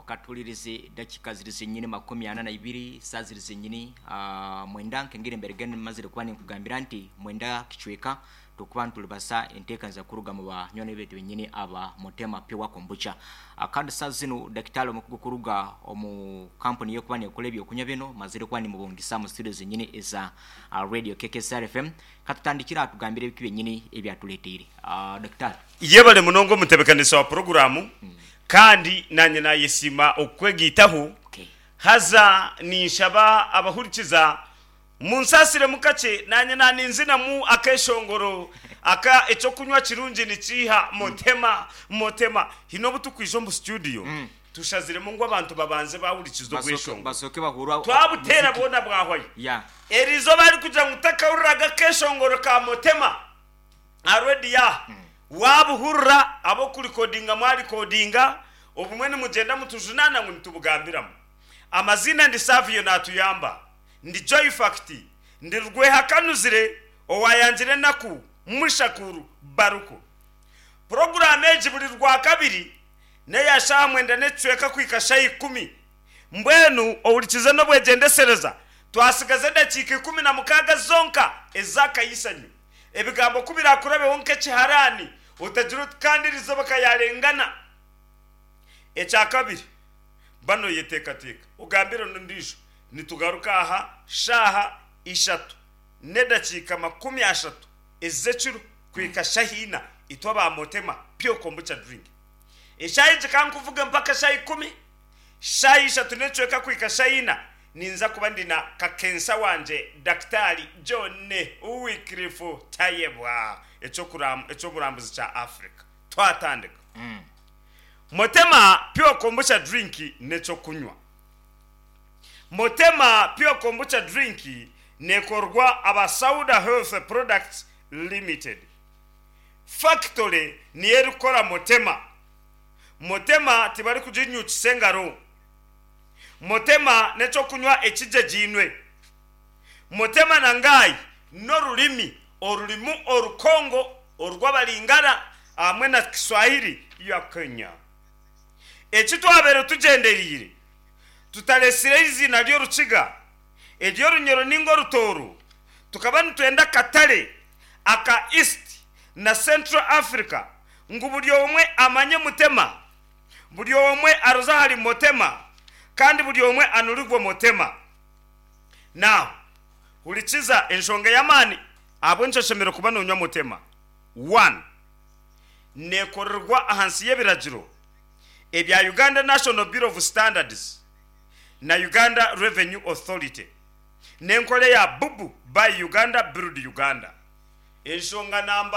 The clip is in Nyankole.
Katuhuririze dakiika ziri zenyini 42, saaha ziri zenyini mwenda nkengeri emberege mazire kuba ninkugambira nti mwenda kicweka tukuba nitulibasa enteekaniza kuruga mu banywani baitu benyini aba Mutema Pure Kombucha. Kandi saaha zinu dakitari omukugu kuruga omu kampuni y'okuba nekora ebyokunywa binu mazire kuba nimubungisa mu studio zenyini eza Radio KKSR FM. Katutandikire aha tugambire ebiki byenyini ebi atureteire. Dakitari. Yebare munonga omutebekanisa wa puroguraamu kandi naanye naayesiima okukwegaitaho. Haza ninshaba abahurikiza munsaasiremu kakye naanye naaninzinamu akeeshongoro aka Eky'okunywa kirungi nikiiha Motema Motema. Haine obu turikwija omu situdiyo tushaziremu ngu abantu babanze baahurikiza obweshongoro. Twabuteera bwona bwahwayo. Eriizooba arikugira ngu takahuriraga akeeshongoro ka Motema. Aha rediyo aha waabuhurira ab'okurikodinga mwarikodinga, obumwe nimugyenda mutujunaana ngu nitubugambiramu. Amaziina ndi Savio Naatuyamba, ndi Joy Fact, ndi Rwehakanuzire owaayangire enaku Mushakuru Baruku. Puroguraamu egi buri Rwakabiri n'eya shaaha mwenda n'ekicweka kuhika shaaha ikumi. Mbwenu ohurikize n'obwegyendesereza, twatsigaza edakiika 16 zonka ez'akayisanyo. Ebigambo ku biraakurabeho nk'ekiharaani, otagira oti kandi erizooba ka yaarengana. Ekyakabiri, ba nooyeteekateeka ogambire n'ondiijo. Nitugaruka aha shaaha ishatu n'edakiika 30 ez'ekiro kuhika shaaha ina, itwe aba Motema Pure Kombucha Drink. Eshaaha egi ka nkuvuge mpaka shaaha ikumi, shaaha ishatu n'ekicweka kuhika shaaha ina, Ninza kuba ndi na kakensa wangye Dakitaali John Wycliffe Tayebwa, eky'oburambuzi kya Africa. Twatandika. Motema Pure Kombucha Drink n'eky'okunywa. Motema Pure Kombucha Drink nekorwa aba Sauda Health Products Limited. Fakitore niyo erikukora Motema. Motema tibarikuginyukisa engaro. Motema n'eky'okunywa ekigyegyeine. Motema na Ngai n'orurimi orurimu Orukongo, orw'Abalingala hamwe na Kiswahili ya Kenya. Eki twabaire tugyendereire tutaretsire eiziina ry'Orukiga, ery'Orunyoro nainga Orutooro, tukaba nitwenda akatare aka East na Central Africa ngu buri omwe amanye Mutema. Buri omwe aroze ahari Motema, kandi buri omwe anurigwe Motema. Now, hurikiza enshonga ey'amaani ahabw'enki oshemereire kuba nonywa Motema. One, neekorerwa ahansi y'ebiragiro ebya Uganda National Bureau of Standards na Uganda Revenue Authority n'enkora eya Bubu, Buy Uganda, Build Uganda. Enshonga namba.